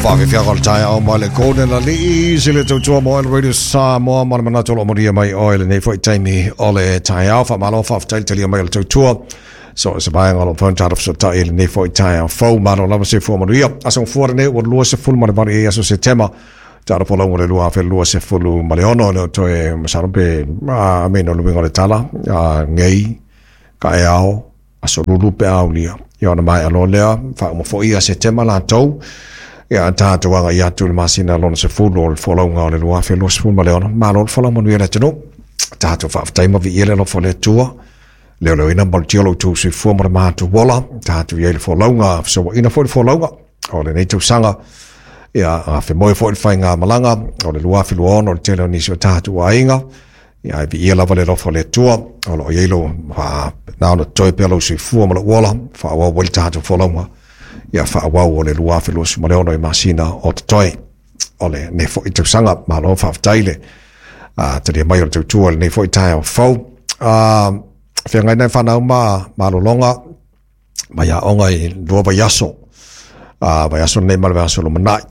Faafiafiaga o le taeao mai le Golden Alii se le tautua mo El Radio Samoa ma le manatu o lo o manuia mai oe lenei foi taimi o le taeao. Faamalo faafetai le talia mai o le tautua. So se vaega o lo o mafai ona tatou fesootai i lenei foi taeao fou. Malo lava soifua manuia. Aso Gafua lenei ua 28 ai aso Setema. Tala folauga o le 2026 e le o toe masalo pe a me no le uiga o le tala a nei ka e ao aso lulu pe aulia ia ona maea loa lea faauma foi ia Setema latou ia tatou agai atu i le masina lona 10 o le folauga o le 2026. Malo le folau manuia le atunuu. Tatou faafetai ma viia le alofa o le Atua. Leoleoina ma malutia lo outou soifua ma le matou ola. Tatou i ai le folauga, fesouaina foi le folauga o lenei tausaga. Ia, a femoe foi le faigamalaga o le 2026 o le tele o nisi o tatou aiga. Ia, ai viia lava le alofa o le Atua o lo o i ai lo na ona totoe pea lou soifua ma lou ola, faaauau ai le tatou folauga. Ia, faaauau o le 2026 i masina o totoe o lenei foi tausaga. Malo faafetai le talia mai o le tautua i lenei foi taeao fou. Feagai nai fanau ma malologa mai aoga i 2 vaiaso. Vaiaso lenei ma le vaiaso lumanai.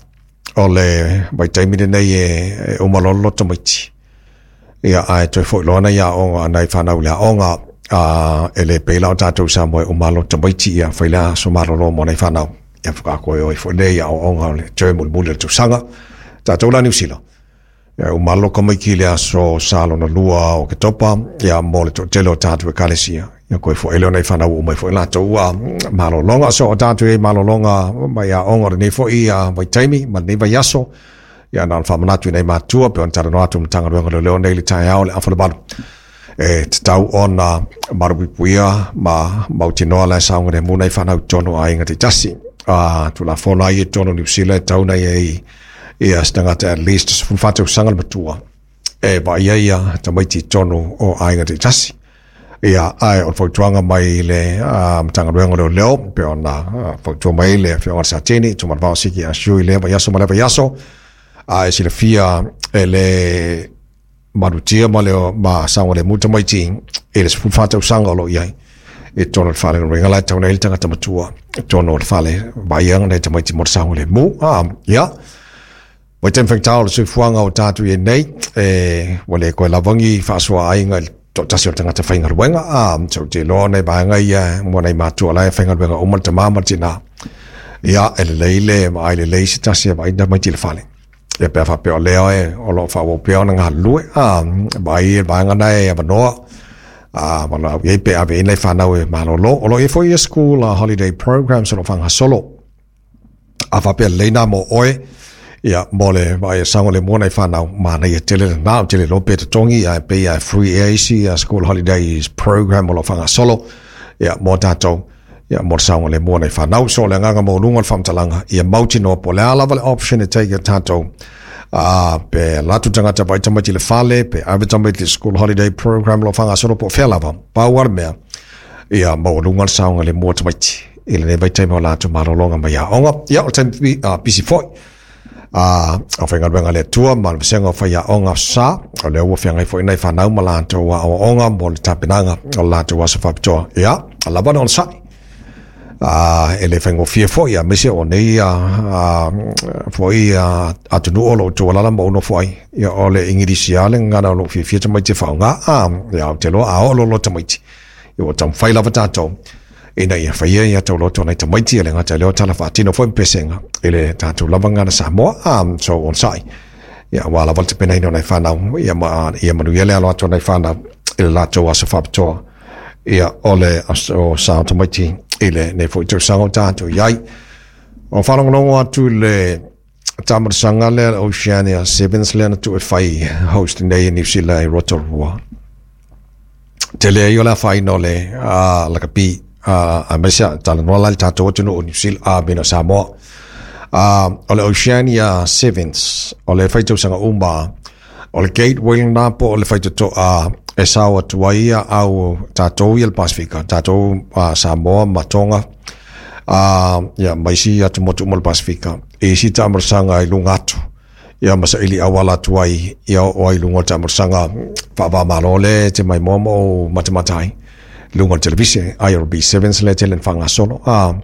O le vaitaimi lenei e uma loa le loto tamaiti. Ia, ae toe foi loa nai aoga, nai fanau i le aoga, e le pei la o tatou Samoa e uma loto tamaiti, ia fai le aso malolo mo nai fanau. Ia faatoa toe o ai foi lea i aoaoga o le term mulimuli o le tausaga. Tatou la Niu Sila, ia uma loa tamaiti i le aso Sa lona 2 o Oketopa, ia mo le toatele o tatou ekalesia. Ia koe foi lea o nai fanau ua uma ai foi latou malologa. So o tatou i ai malologa mai aoga o lenei foi vaitaimi ma lenei vaiaso. Ia na ona faamanatu i nai matua pe ona talanoa atu Matagaluega o Leoleo nei i le taeao le afa le 8. E tatau ona malupuipuia ma mautinoa la e saogalemu nai fanau i totonu o aiga taitasi. Tulafono lava ia i totonu o Niu Sila e tatau ona i ai ia se tagata at least 14 tausaga le matua e vaaia ia tamaiti i totonu o aiga taitasi. Ia, ae o le fautuaga mai le Matagaluega o Leoleo, pe ona fautua mai le Afioga i le Satini, Tumanavao Siki Asiu i lea vaiaso ma lea vaiaso, a e silafia e le malutia ma le ma saogalemu tamaiti i le 14 tausaga o lo o i ai i totonu o le fale. Lona uiga la e tatau ona i ai le tagata matua i totonu o le fale vaaia nai tamaiti mo le saogalemu. Ia, Vaitaimi faigata o le soifuaga o tatou i ai nei, e, ua le koe lava ni faasoa aiga i le toatasi o le tagata faigaluega. So ou te iloa nai vaega ia mo nai matua la e faigaluega uma le tama ma le tina. Ia, e lelei le vaai lelei se tasi e vaai tamaiti i le fale. Ia pe a faapea o lea e, o lo o faaauau pea ona galulue. Vaai le vaega na e avanoa. Valaau i ai pe ave i ai nai fanau e malolo. O lo o i ai foi ia school holiday programs o lo o faagasolo. A faapea lelei nā mo oe, ia, mo le vaai e saogalemu nai fanau, manaia tele lena, ou te le iloa pe totogi, ae pei lava e free ea isi school holidays program o lo o faagasolo, ia, mo tatou, ia, mo le saogalemu o nai fanau. So, o le agaga maualuga o le faamatalaga, ia mautinoa po o le a lava le option e take e tatou, pe alu atu le tagata e vaai tamaiti i le fale, pe ave tamaiti i le school holiday program o lo o faagasolo po o fea lava, pau lava le mea, ia maualuga le saogalemu o tamaiti i lenei vaitaimi o latou malologa mai aoga. Ia, o le taimi pisi foi o faigaluega a le Atua ma le vasega o faiaoga sa, o lea ua feagai foi nai fanau ma latou aoaoga mo le tapenaga o le latou aso faapitoa. Ia, lava le onosai. E le faigofie foi, aemaise o nei foi atunuu o lo o tuualala ma ou nofo ai. Ia, o le Igilisi lava le gagana o lo o fiafia tamaiti e faaaoga. Ia, ou te iloa a oo loa tamaiti, ia ua taumafai lava tatou ina ia faia ia tauloto nai tamaiti, e le gata i lea o tala faatino foi ma pesega i le tatou lava gagana Samoa. So onosai, ia, aua lava le tapenaina o nai fanau, ia, ma, ia manuia le alo atu o nai fanau i le latou aso faapitoa. Ia, o le aso sa o tamaiti i lenei foi tausaga o tatou i ai. O faalogologo atu i le taamailosaga lea le Oceania Sevens lea na tuu e fai host nei e New Zealand i Rotorua. Tele ai o le afaina o le lakapi, aemaise talanoa la i le tatou atunuu o New Zealand, mena o Samoa. O le Oceania Sevens, o le fai tausaga uma, o le gateway lena po o le faitotoa e sao atu ai ia au tatou ia le Pasifika, tatou Samoa ma Tonga, ia ma isi atumotu uma o le Pasifika, i isi taamailosaga i luga atu, ia ma saili auala atu ai, ia oo ai i luga o le taamailosaga faava-o-Malo lea e te maimoa ma ou matamata ai. luga o le televise IRB Sevens lea tele ina faagasolo. A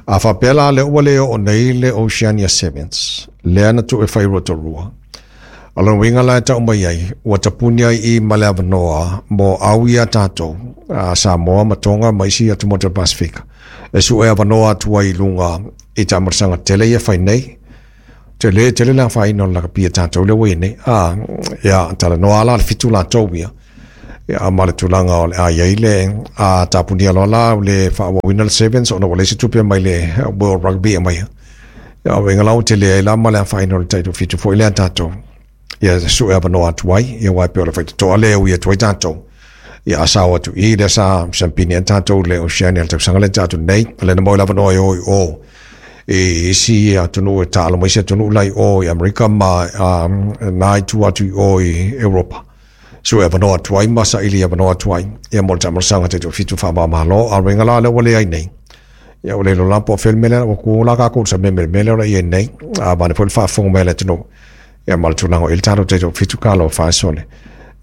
a faapea la lea ua le oo nei le Oceania Sevens lea na tuu e fai i Rotorua, o lona uiga la e tau mai ai ua tapuni ai i ma le avanoa mo au ia tatou Samoa ma Tonga ma isi atumotu o le Pasefika e sue avanoa atu ai i luga i taamailosaga tele ia e fai nei. Tele tele le afaina o le lakapi a tatou lea ua i ai nei. A, ia, talanoa la le 7 latou ia, ia ma le tulaga o le a i ai le a tapunia loa la le faaauauina le Sevens ona ua leai se tupe mai le World Rugby e aumaia. Ia, o uiga la ua tele ai la ma le afaina o le tai 7 foi lea a tatou. Ia sue avanoa atu ai, ia aua e pei o le faitotoa lea e ui atu ai tatou. Ia a sao atu i lea sa siampini ai tatou i le Oceania i le tausaga lea na tea atu nei, o lea na maua ai le avanoa e o i o i isi atunuu e taalo mai isi atunuu la i o i Amerika ma na itu atu i o i Europa. Sue avanoa atu ai ma saili avanoa atu ai ia mo le taamailosaga taitoafitu faava-o-Malo. A o le uiga la lea ua leai nei, ia ua le iloa la po o fea le mea lea ua tu la tatou i le samea mea lea o le a i ai nei. A vaeane foi le faafofoga mai a le atunuu, ia ma le tulaga o i ai le tatou taitoafitu talofa e sole.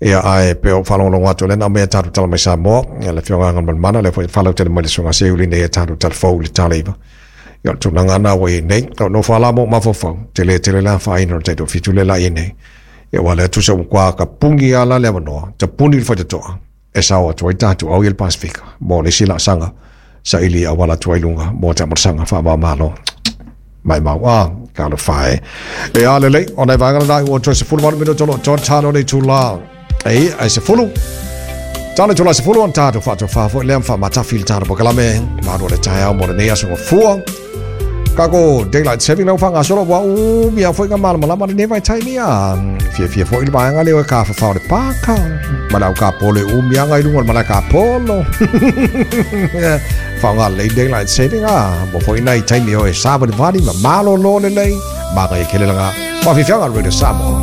Ia ae pei o faalogologo atu o lea na aumai a tatou tala mai Samoa, ia le Afioga Agamalemana, lea foi e faalautele mai le Susuga Seiuli nei a tatou tala fou i le tala 9. Ia o le tulaga lena ua i ai nei. O nofo lava la ma ou mafaufau, tele tele le afaina o le taitoafitu lea la i ai nei. Ia aua o lea tusa ua matua tapuni lava la le avanoa, tapuni le faitotoa e sao atu ai tatou au ia le Pasefika mo le isi laasaga saili e auala atu ai i luga mo taamailosaga faava-o-Malo. Maimau a, talofa e. E a lelei, o nai vaega lena ua toe 18 minuto o lo o toa talo le itula. E, ai 10. Talo itula 10 ona tatou faatofa foi lea ma faamatafi le tatou polokalame. Malu o le taeao mo lenei aso gafua. Kako daylight saving lau whangasolo wa u mia foi nga malamalama lenei vaitaimi a fiafia foi le vaega lea o e kāwhawhao le pāka. Ma le au ka polo e umi anga i lunga o le malae ka polo. Whaonga lelei daylight saving a mo foi nai taimi o e sāvalivali ma malolo lelei. Māngai e kele langa. Whafifianga Radio Samoa.